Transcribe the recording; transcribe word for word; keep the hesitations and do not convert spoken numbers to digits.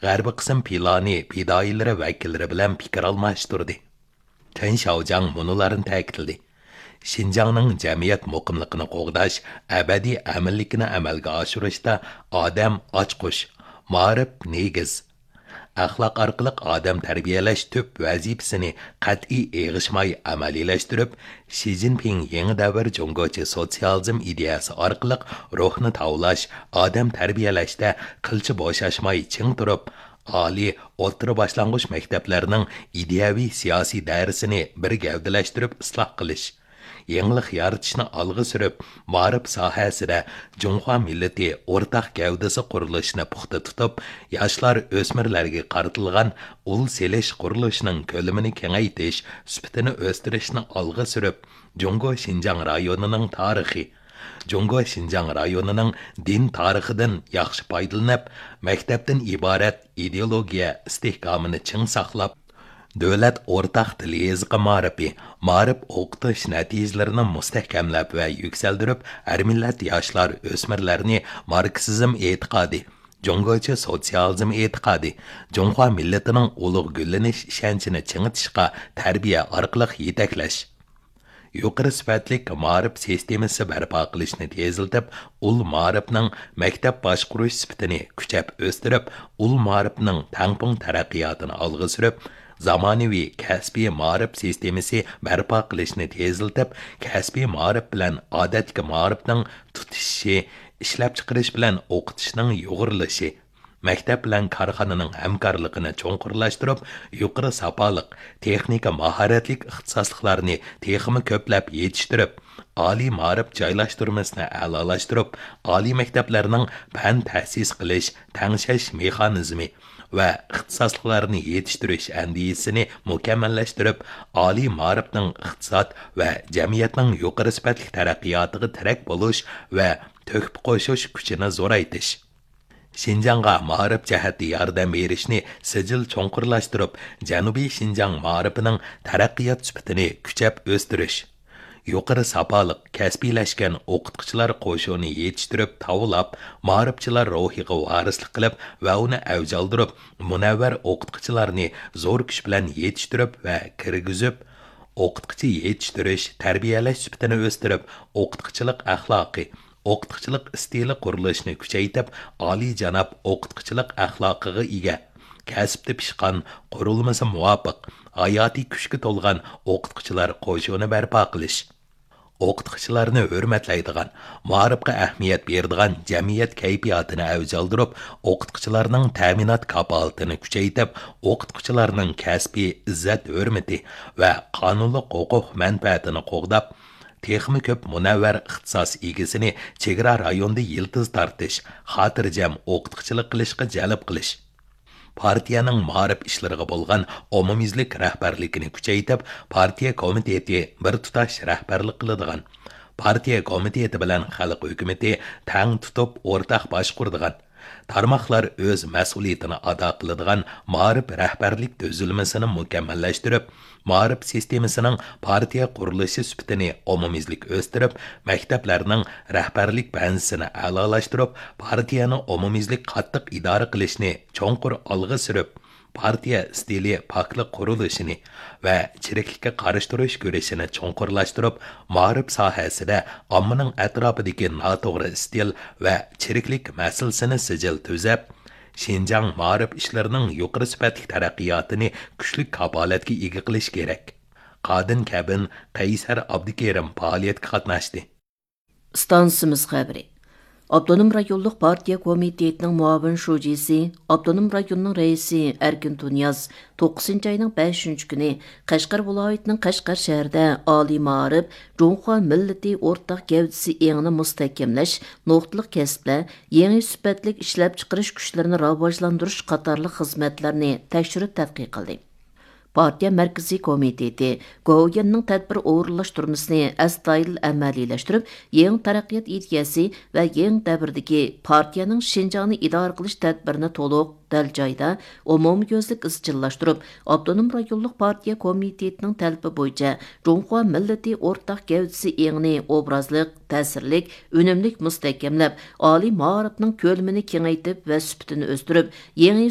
غەربىي قىسىم پىلانى پىدائىيلىرى ۋەكىللىرى بىلەن پىكىر ئالماشتۇردى. چېن شياۋجياڭ مۇنۇلارنى تەكىتلىدى: شىنجاڭنىڭ جەمئىيەت مۇقىملىقىنى قوغداش، ئەبەدىي ئەمىنلىكىنى ئەمەلگە ئاشۇرۇشتا ئادەم ئاچقۇچ، مائارىپ نېگىز. ئەخلاق ئارقىلىق ئادەم تەربىيەلەش تۈپ ۋەزىپىسىنى قەتئىي ئېغىشماي ئەمەلىيلەشتۈرۈپ، شى جىنپىڭ يېڭى دەۋر جۇڭگوچە سوتسىيالىزم ئىدىيەسى ئارقىلىق روھنى تاۋلاش، ئادەم تەربىيەلەشتە قىلچە بوشاشماي چىڭ تۇرۇپ، ئالىي، ئوتتۇرا باشلانغۇچ مەكتەپلەرنىڭ ئىدىيەۋى سىياسىي دائىرىسىنى بىر گەۋدىلەشتۈرۈپ ئىسلاھ قىلىش، يېڭىلىق يارىتىشنى ئالغا سۈرۈپ، مائارىپ ساھەسىدە جۇڭخۇا مىللىتى ئورتاق گەۋدىسى قۇرۇلۇشىنى پۇختا تۇتۇپ، ياشلار، ئۆسمۈرلەرگە قارىتىلغان ئۇل سېلىش قۇرۇلۇشىنىڭ كۆلىمىنى كېڭەيتىش، سۈپىتىنى ئۆستۈرۈشنى ئالغا سۈرۈپ، جۇڭگو شىنجاڭ رايونىنىڭ تارىخى، جۇڭگو شىنجاڭ رايونىنىڭ دىن تارىخىدىن ياخشى پايدىلىنىپ، مەكتەپتىن ئىبارەت ئىدېئولوگىيە ئىستىھكامىنى چىڭ ساقلاپ، دۆلەت ئورتاق تىل يېزىقى مائارىپى، مائارىپ ئوقۇتۇش نەتىجىلىرىنى مۇستەھكەملەپ ۋە يۈكسەلدۈرۈپ، ھەر مىللەت ياشلار، ئۆسمۈرلەرنى ماركسىزم ئېتىقادى، جۇڭگوچە سوتسىيالىزم ئېتىقادى، جۇڭخۇا مىللىتىنىڭ ئۇلۇغ گۈللىنىش ئىشەنچىنى چىڭىتىشقا تەربىيە ئارقىلىق يېتەكلەش. يۇقىرى سۈپەتلىك مائارىپ سىستېمىسى بەرپا قىلىشنى تېزلىتىپ، ئۇل مائارىپنىڭ مەكتەپ باشقۇرۇش سۈپىتىنى كۈچەپ ئۆستۈرۈپ، ئۇل مائارىپنىڭ تەڭپۇڭ تەرەققىياتىنى ئالغا سۈرۈپ، زامانىۋى كەسپىي مائارىپ سىستېمىسى بەرپا قىلىشنى تېزلىتىپ، كەسپىي مائارىپ بىلەن ئادەتتىكى مائارىپنىڭ تۇتىشىشى، ئىشلەپچىقىرىش بىلەن ئوقۇتۇشنىڭ يۇغۇرۇلۇشى، مەكتەپ بىلەن كارخانىنىڭ ھەمكارلىقىنى چوڭقۇرلاشتۇرۇپ، يۇقىرى ساپالىق، تېخنىكا ماھارەتلىك ئىختىساسلىقلارنى تېخىمۇ كۆپلەپ يېتىشتۈرۈپ، ئالىي مائارىپ جايلاشتۇرمىسىنى ئەلالاشتۇرۇپ، ئالىي مەكتەپلەرنىڭ پەن تەسىس قىلىش، تەڭشەش مېخانىزمى ۋە ئىختىساسلىقلارنى يېتىشتۈرۈش ئەندىزىسىنى مۇكەممەللەشتۈرۈپ، ئالىي مائارىپنىڭ ئىقتىساد ۋە جەمئىيەتنىڭ يۇقىرى سۈپەتلىك تەرەققىياتىغا تىرەك بولۇش ۋە تۆھپە قوشۇش كۈچىنى زورايتىش. شىنجاڭغا مائارىپ جەھەتتە ياردەم بېرىشنى سىجىل چوڭقۇرلاشتۇرۇپ، جەنۇبىي شىنجاڭ مائارىپىنىڭ تەرەققىيات سۈپىتىنى كۈچەپ ئۆستۈرۈش. يۇقىرى ساپالىق، كەسپىيلەشكەن ئوقۇتقۇچىلار قوشۇنى يېتىشتۈرۈپ تاۋلاپ، مائارىپچىلار روھىغا ۋارىسلىق قىلىپ ۋە ئۇنى ئەۋج ئالدۇرۇپ، مۇنەۋۋەر ئوقۇتقۇچىلارنى زور كۈچ بىلەن يېتىشتۈرۈپ ۋە كىرگۈزۈپ، ئوقۇتقۇچى يېتىشتۈرۈش، تەربىيەلەش سۈپىتىنى ئۆستۈرۈپ، ئوقۇتقۇچىلىق ئەخلاقى، ئوقۇتقۇچىلىق ئىستىلى قۇرۇلۇشىنى كۈچەيتىپ، ئالىيجاناب ئوقۇتقۇچىلىق ئەخلاقىغا ئىگە، كەسىپتە پىشقان، قۇرۇلمىسى مۇۋاپىق، ھاياتىي كۈچكە تولغان ئوقۇتقۇچىلار قوشۇنى بەرپا قىلىش. ئوقۇتقۇچىلارنى ھۆرمەتلەيدىغان، مائارىپقا ئەھمىيەت بېرىدىغان جەمئىيەت كەيپىياتىنى ئەۋج ئالدۇرۇپ، ئوقۇتقۇچىلارنىڭ تەمىنات كاپالىتىنى كۈچەيتىپ، ئوقۇتقۇچىلارنىڭ كەسپىي ئىززەت-ھۆرمىتى ۋە قانۇنلۇق ھوقۇق مەنپەئەتىنى قوغداپ، تېخىمۇ كۆپ مۇنەۋۋەر ئىختىساس ئىگىسىنى چېگرا رايوندا يىلتىز تارتىش، خاتىرجەم ئوقۇتقۇچىلىق قىلىشقا جەلپ قىلىش. پارتىيەنىڭ مائارىپ ئىشلىرىغا بولغان ئومۇميۈزلۈك رەھبەرلىكىنى كۈچەيتىپ، پارتىيە كومىتېتى بىر تۇتاش رەھبەرلىك قىلىدىغان، پارتىيە كومىتېتى بىلەن خەلق ھۆكۈمىتى تەڭ تۇتۇپ ئورتاق باشقۇرىدىغان، تارماقلار ئۆز مەسئۇلىيىتىنى ئادا قىلىدىغان مائارىپ رەھبەرلىك تۈزۈلمىسىنى مۇكەممەللەشتۈرۈپ، مائارىپ سىستېمىسىنىڭ پارتىيە قۇرۇلۇشى سۈپىتىنى ئومۇميۈزلۈك ئۆستۈرۈپ، مەكتەپلەرنىڭ رەھبەرلىك بەنزىسىنى ئەلالاشتۇرۇپ، پارتىيەنى ئومۇميۈزلۈك قاتتىق ئىدارە قىلىشنى چوڭقۇر ئالغا سۈرۈپ، پارتىيە ئىستىلى پاكلىق قۇرۇلۇشىنى ۋە چىرىكلىككە قارشى تۇرۇش كۈرىشىنى چوڭقۇرلاشتۇرۇپ، مائارىپ ساھەسىدە ئاممىنىڭ ئەتراپىدىكى ناتوغرا ئىستىل ۋە چىرىكلىك مەسىلىسىنى سىجىل تۈزەپ، شىنجاڭ مائارىپ ئىشلىرىنىڭ يۇقىرى سۈپەتلىك تەرەققىياتىنى كۈچلۈك كاپالەتكە ئىگە قىلىش كېرەك. قادىن كەبىن، قەيسەر ئابدۇكېرىم پائالىيەتكە قاتناشتى. ئىستانسىمىز خەۋىرى. ئاپتونوم رايونلۇق پارتىيە كومىتېتىنىڭ مۇئاۋىن شۇجىسى، ئاپتونوم رايوننىڭ رەئىسى ئەركىن تۇنىياز توققۇزىنچى ئاينىڭ بەشىنچى كۈنى قەشقەر ۋىلايىتىنىڭ قەشقەر شەھىرىدە ئالىي مائارىپ، جۇڭخۇا مىللىتى ئورتاق گەۋدىسى ئېڭىنى مۇستەھكەملەش، نۇقتىلىق كەسىپلەر، يېڭى سۈپەتلىك ئىشلەپچىقىرىش كۈچلىرىنى راۋاجلاندۇرۇش قاتارلىق خىزمەتلەرنى تەكشۈرۈپ تەتقىق قىلدى. پارتىيە مەركىزىي كومىتېتى گوۋۇيۈەننىڭ تەدبىر ئورۇنلاشتۇرمىسىنى ئەستايىدىل ئەمەلىيلەشتۈرۈپ، يېڭى تەرەققىيات ئىدىيەسى ۋە يېڭى دەۋردىكى پارتىيەنىڭ شىنجاڭنى ئىدارە قىلىش تەدبىرىنى تولۇق، دەل جايدا، ئومۇميۈزلۈك ئىزچىللاشتۇرۇپ، ئاپتونوم رايونلۇق پارتىيە كومىتېتىنىڭ تەلىپى بويىچە جۇڭخۇا مىللىتى ئورتاق گەۋدىسى ئېڭىنى ئوبرازلىق، تەسىرلىك، ئۈنۈملۈك مۇستەھكەملەپ، ئالىي مائارىپنىڭ كۆلىمىنى كېڭەيتىپ ۋە سۈپىتىنى ئۆستۈرۈپ، يېڭى